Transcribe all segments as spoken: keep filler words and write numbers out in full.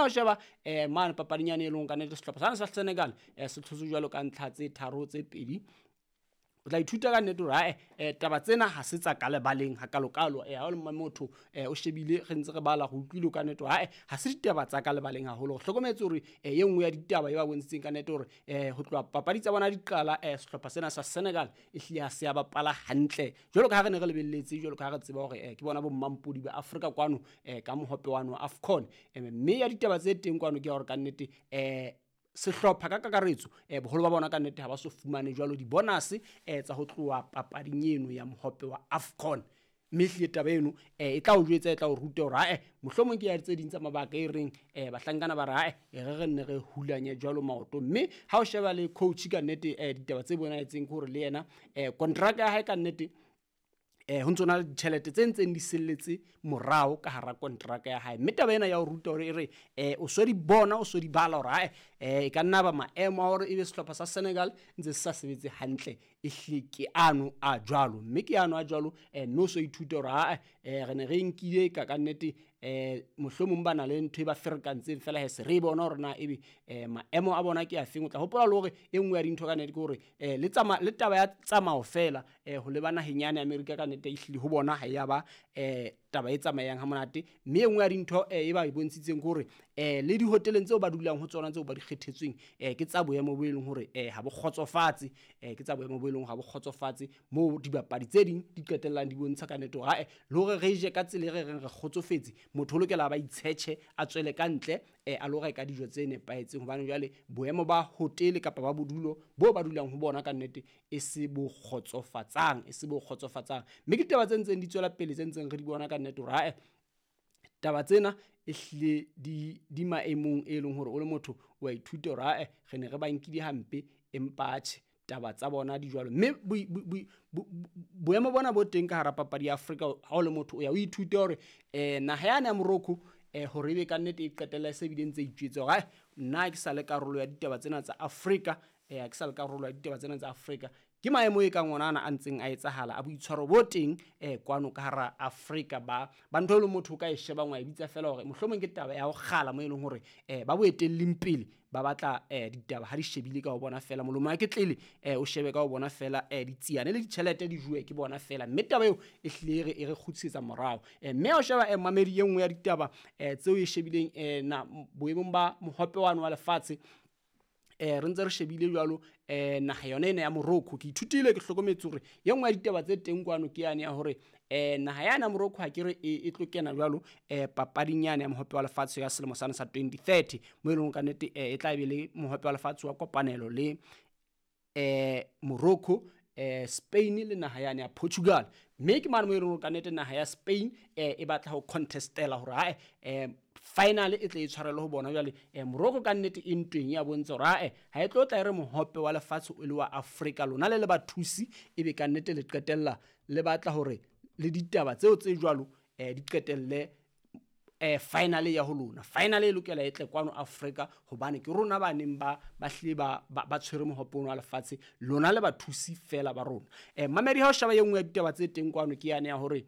O sheba eh mane papading yane e leng ka nnete sehlopha sana sa Senegal eh se tlhotse jwalo ka ntlha tse tharo tse pedi. O tla ithuta ka nnete hore ae eh, taba tsena ha se tsa ka lebaleng hakalokalo. Eh ha o le motho eh o shebile re ntse re bala go utlwile ka nnete hore ae ha se ditaba tsa ka lebaleng haholo. Re hlokometse hore eh e nngwe ya ditaba e ba bontshitseng ka nnete hore eh ho tloha papadi tsa bona di qala eh sehlopha sena sa Senegal e hlile ha se ya bapala hantle jwalo ka ha re ne re lebelletse, jwalo ka ha re tseba hore eh ke bona bo mmampodi ba Afrika kwano eh ka mohope wano wa AFCON. Eh, mme ya ditaba tse teng kwano ke ya hore ka nnete eh sehlopha ka kakaretso eh boholo ba bona ka nnete ha ba so fumane jwalo di-bonus eh tsa ho tloha papading eno ya mohope wa AFCON. Mme ehlile taba eno eh e tla o jwetsa, e tla o ruta hore ae mohlomong ke ya tse ding tsa mabaka e reng eh bahlankana ba re ae e re re nne re hulanye jwalo maoto. Mme ha o sheba le coach ka nnete eh ditaba tse bonahetseng ke hore le yena eh contract ya hae ka nnete eh ho ntso na le ditjhelete tse ntseng di selletse morao ka hara kontraka ya hae. Mme taba ena ya ho ruta hore e re eh o so di bona, o so di bala hore ae eh e ka nna ba maemo a hore ebe sehlopha sa Senegal ntse se sa sebetse hantle, e hlile ke ano a jwalo. Mme ke ano a jwalo eh mme o so ithute hore ae eh re ne re nkile ka ka nnete eh mohlomong ba na le ntho e ba ferekantseng fela he se re bona hore na ebe eh maemo a bona ke a feng. O tla hopola le hore e nngwe ya dintho ka nnete ke hore eh le tsama le taba ya tsamao fela eh ho leba naheng yane Amerika ka nnete ehlile ho bona ha ya ba eh taba e tsamayang ha monate. Mme e nngwe ya dintho eh e ba e bontshitseng ke hore eh le dihoteleng tseo ba dulang ho tsona tseo ba di kgethetsweng eh ke tsa boemo bo e leng hore eh ha bo kgotsofatse, eh ke tsa boemo bo e leng ha bo kgotsofatse moo dibapadi tse ding di qetellang di bontsha ka nnete hore ae le hore re je ka tsela e re reng re kgotsofetse, motho o lokela ba itshetjhe a tswele ka ntle eh a lo reka dijo tse nepahetseng, hobane jwale boemo ba hotele kapa ba bodulo bo ba dulang ho bona ka nnete e se bo kgotsofatsang, e se bo kgotsofatsang. Mme ke ditaba tse ntseng di tswela pele tse ntseng re di bona ka nnete hore ae taba tsena e hlile di di maemong e leng hore o le motho wa ithuta hore ae re ne re ba nkile hampe empa atjhe taba tsa bona di jwalo. Mme boemo bona bo teng ka hara papadi ya Afrika ha o le motho o ya o ithute hore eh naha yane ya Morocco eh hore ebe ka nnete e qetella e se bile ntse itjwetse hore ae nna ke sa le karolo ya ditaba tsena tsa Afrika, eh ke sa le karolo ya ditaba tsena tsa Afrika. Ke maemo e kang ona ana a ntseng a etsahala a boitshwaro bo teng eh kwano ka hara Afrika ba ba ntho e leng motho o ka e shebang wa e bitsa fela hore mohlomong ke taba ya ho kgala mo e leng hore eh ba boetelleng pele ba batla eh ditaba ha di shebile ka ho bona fela molomo wa ke tlele eh o shebe ka ho bona fela eh ditsiane le ditjhelete di juwe ke bona fela. Mme taba eo e hlile re e re kgutlisetsa morao. Eh mme o sheba eh mamedi e nngwe ya ditaba eh tseo e shebileng eh na boemong ba mohope wano wa lefatshe eh re ntse re shebile jwalo eh naha yona ena ya Morocco. Ke ithutile ke hlokometse hore e nngwe ya ditaba tse teng kwano ke yane ya hore eh naha yana ya Morocco ha ke re e tlo kena jwalo eh papading yane ya mohope wa lefatshe ya selemo sana sa twenty thirty mo e leng ka nnete eh e tla be le mohope wa lefatshe wa kopanelo le eh Morocco, eh Spain le naha yane ya Portugal. Mme ke mane mo e leng ka nnete naha ya Spain eh e batla ho contestela hore ae eh final e tle e tshwarele ho bona jwale eh Morocco ka nnete e ntweng ya bontsha hore ae ha e tlo tla e re mohope wa lefatshe o le wa Afrika lona le le bathusi ebe ka nnete le qetella le batla hore le ditaba tseo tse jwalo eh di qetelle eh final ya ho lona. Final e lokela e tle kwano Afrika hobane ke rona ba neng ba ba hlile ba ba tshwere mohope wa lefatshe lona le bathusi fela ba rona. Eh mamedi ha o sheba e nngwe ya ditaba tse teng kwano ke yane ya hore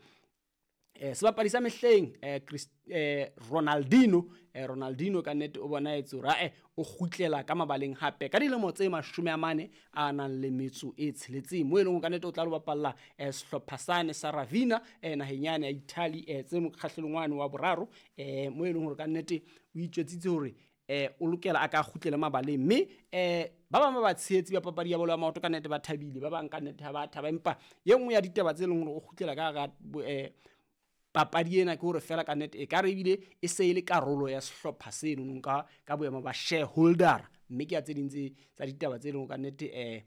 eh sebapadi sa mehleng eh eh Ronaldinho eh Ronaldinho ka nnete o bona etse hore ae o kgutlela ka mabaleng hape ka dilemo tse mashome a mane a nang le metso e tsheletseng mo e leng ka nnete o tla lo bapalla eh sehlopha sane sa Ravina eh naheng yane ya Italy eh tse mokgahlelong wane wa boraro eh mo e leng hore ka nnete o itjwetsitse hore eh o lokela a ka kgutlele mabaleng. Mme eh ba bang ba ba tshehetsi ba papadi ya bolo ya maoto ka nnete ba thabile, ba bang ka nnete ha ba thaba, empa ye nngwe ya ditaba tse leng hore o kgutlela ka hara eh papadi ena ke hore fela ka nnete e ka re ebile e se e le karolo ya sehlopha seno ka ka boemo ba shareholder. Mme ke ya tse ding tse tsa ditaba tse leng ka nnete eh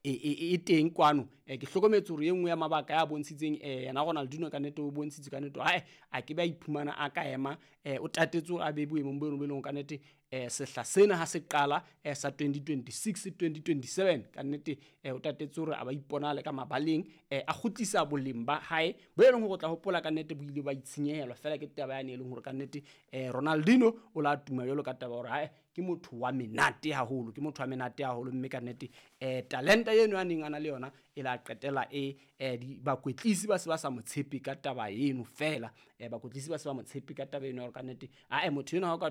e e teng kwano. Eh ke hlokometse hore e nngwe ya mabaka ya bontshitseng eh yena Ronaldinho ka nnete o bontshitse ka nnete ae a ke ba iphumana a ka ema eh o tatetse hore a be boemong bo leng ka nnete eh sehla sena ha se qala eh sa twenty twenty-six twenty twenty-seven ka nnete eh o tatetse hore a ba iponale ka mabaleng eh a kgutlisa boleng ba hae bo e leng hore o tla hopola ka nnete bo ile ba itshenyehelwa fela ke taba yane e leng hore ka nnete eh Ronaldinho o la tuma jwalo ka taba hore hae ke Ke motho wa menate haholo, ke motho wa menate haholo, mme ka nnete um talenta eno a neng a na le yona e la qetela e um bakwetlisi ba se ba sa mo tshepe ka taba eno fela. um Bakwetlisi ba se ba mo tshepe ka taba eno ya hore ka nnete ae motho enwa ha o ka